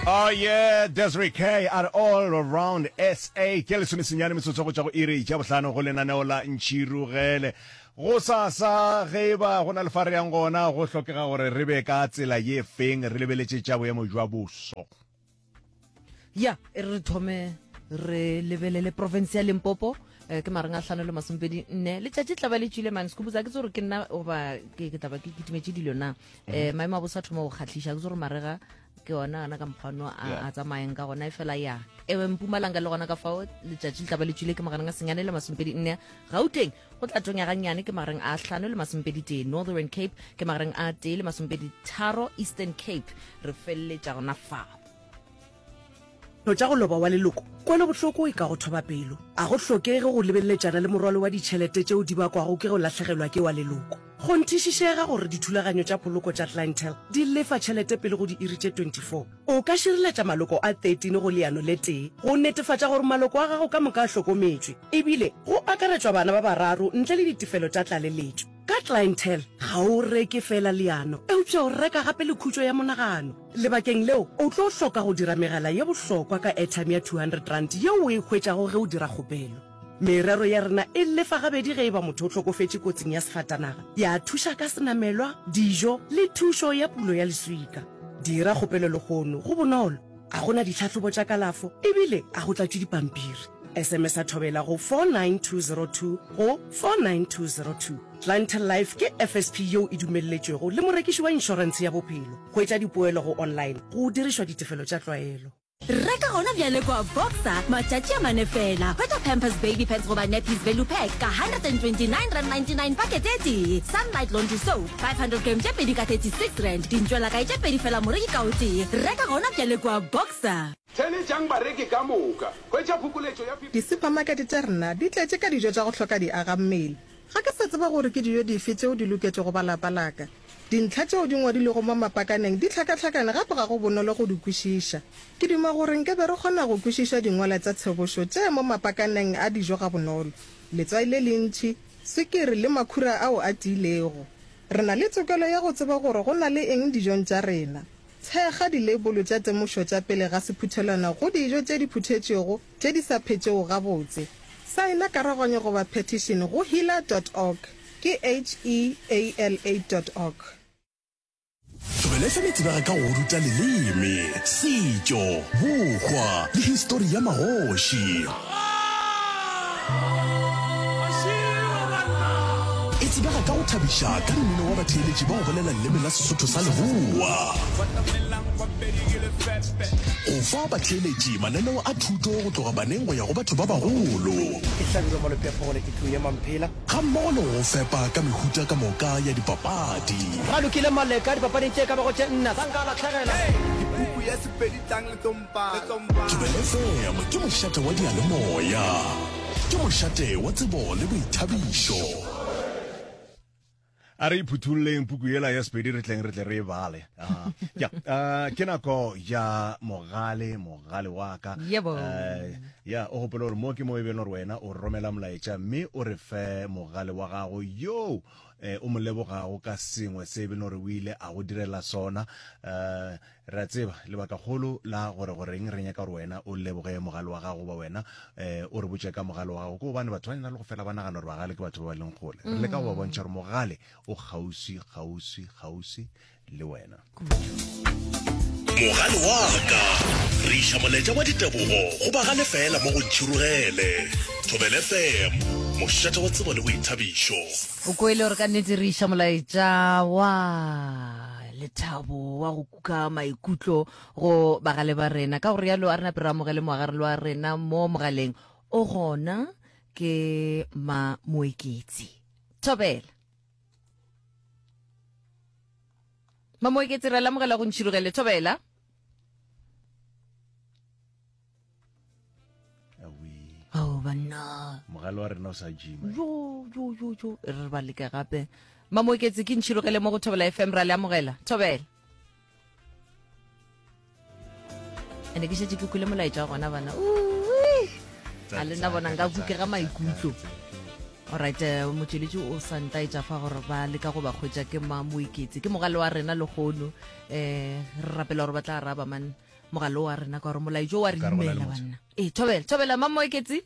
Oh yeah, Desiree K at all around SA. Ke lesomesenyane metsotso go tšwa go iri tša bohlano go lenaneo la Ntšhirugele. Go sasa ge e ba go na le fa re yang gona go hlokega gore re be ka tsela ye feng re lebeletše tša boemo jwa boso. Ya, e re re thome re lebelele province ya Limpopo eh, ke mareng a hlano le masomepedi nne letšatši tla ba le tšwile mane sekhuputsa ke tse gore ke nna goba ke ke tla ba ke kitimetše dilo na um maemo a bosa thoma go kgahliša ke tse gore marega ke ona ana ka mokgwano a a tsamayang ka gona e fela ya ewe mpumalanga le gona ka fao letšatši le tla ba le tšwile ke magareng a senyane le masomepedi nne gauteng go tla tonya gannyane ke magareng a hlano le masomepedi tee northern cape ke magareng a tee le masomepedi tharo eastern cape re feleletša gona fao Tša go loba wa leloko, kwelobohloko e ka go thoba pelo. A go hlokege go lebeleletšana le morwalo wa ditšhelete tšeo di bakwago ke go lahlegelwa ke wa leloko. Kgonthišišega gore dithulaganyo tša poloko tša Clientele di lefa tšhelete pele go diiri tše 24. O ka šireletša maloko a 13 go leano le tee go netefatša gore maloko a gago ka moka a hlokometšwe, ebile go akaretšwa bana ba bararo ntle le ditefelo tša tlaleletšo. Ka Clientele, ga o reke feela leano, eupša o reka gape le khutšo ya monagano. Lebakeng leo, o tlo hloka go dira megala ye bohlokwa ka airtime ya R200 yeo o e hwetšago ge o dira kgopelo. Merero ya rena e lefa gabedi ge e ba motho o hlokofetše kotsing ya sefatanaga, ya thuša ka senamelwa, dijo le thušo ya pulo ya leswika. Dira kgopelo lehono, go bonolo, ga go na ditlhahlobo tša kalafo ebile ga go tlatšwe dipampiri. SMS-a Thobela go 49202 go 49202. Clientele Life ke FSP yeo e dumelletšwego le morekiši wa inšorentshe ya bophelo. Hwetša dipoelo go online go dirišwa ditefelo tša tlwaelo. Reka gona bjale kwa Boxer, matšatši a mane fela. Hwetša Pampers Baby Pads goba Nappies Value Pack ka R129.99 pakete e tee, Sunlight Laundry Soap 500g tše pedi ka R36, dintšwelakae tše pedi fela moreki ka o tee. Reka gona bjale kwa Boxer. Theeletšang bareki ka moka. Hwetša phokoletšo ya 50. Disuphamakete tša rena di tletše ka dijo tša go hloka diagammele. Ga ke sa tseba gore ke dijo dife tšeo di loketšego ba lapa la ka. Dintlha tšeo di ngwadilwego mo mapakaneng di hlakahlakane gape ga go bonolo go di kwešiša. Ke duma gore nke be re kgona go kwešiša dingwalwa tša tshebošo tše mo mapakaneng a dijo gabonolo. Letswai le lentši, swikiri le makhura ao a tiilego. Re na le tokelo ya go tseba gore go na le eng dijong tša rena. Thekga dileibolo tša temošo tša pele ga sephuthelwana go dijo tše di phuthetšwego tše di sa phetšego gabotse. Saena karoganyo goba petition go heala dot org, ke H-E-A-L-A dot org. Thobela FM e tsebega ka go go ruta leleme, setšo, bohwa le histori ya magoši. E tsebega ka go thabiša ka mmino wa batheeletši ba go bolela leleme la Sesotho sa Leboa. Go fa batheeletši mananeo a thuto go tloga baneng go ya go batho ba bagolo. Ke Hlabirwa Malope a Phogole ke tlou ya Mamphela. Gammogo le go go fepa ka mehuta ka moka ya dipapadi. Ralokile Maleka dipapading tše ka bago tše nna sa nka a lahlegela. Ke puku ya Sepedi tlang le tlo mpala. Thobela FM ke mošate wa diyalemoya. Ke mošate wa tsebo le boithabišo. A re iphuthulleng puku yela ya Sepedi re tleng re tle re e bale. Ah, ya, ah, ke nako ya mogale, mogale wa ka. Yebo. Eh, ya, o gopole gore mo ke mo e beng gore wena o romela molaetša mme o re fe mogale wa gago yoo eh, o mo lebogago ka sengwe se e beng gore o ile a go direla sona. Eh, Re a tseba lebakakgolo la gore goreng re nyaka gore wena o leboge mogale wa gago goba wena um o re botše ka mogale wa gago ke gobane batho ba na le go fela ba nagana gore bagale ke batho ba ba leng kgole. Re leka go ba bontšha gore mogale o kgauswi, kgauswi, kgauswi le wena. Mogale wa ka. Re iša molaetša wa ditebogo go bagale fela mo go Ntšhirogele. Thobela FM, mošate wa tsebo le boithabišo. O kwele gore ka nnete re iša molaetša wa lethabo wa go kuka maikutlo go bagale ba rena. Ka go rialo a re nape re amogele moagarelo wa rena mo mogaleng o gona ke ma Moeketsi. Thobela. Ma Moeketsi re lamogela go ntšhirogele Thobela. Ao banna. Mogale wa rena o sa jima. Jo jo jo jo e re ba leke gape. Mamoeketsi ke ntšhirogele mo go Thobela FM ra le amogela. Thobela. Ene ke šetše ke kwele molaetša wa gona bana. Ui. A le nna bona nka kukega maikutlo. Alright, eh, motšweletši o sa ntaetša fa gore ba leka go ba hwetša ke Mamoeketsi. Ke mogale wa rena lehono. Eh, re rapela gore ba tla araba man. mogalo wa rena ka gore molaetšo wa re Ka re go na le imela motho. banna. Ee, thobela, thobela Mamoeketsi.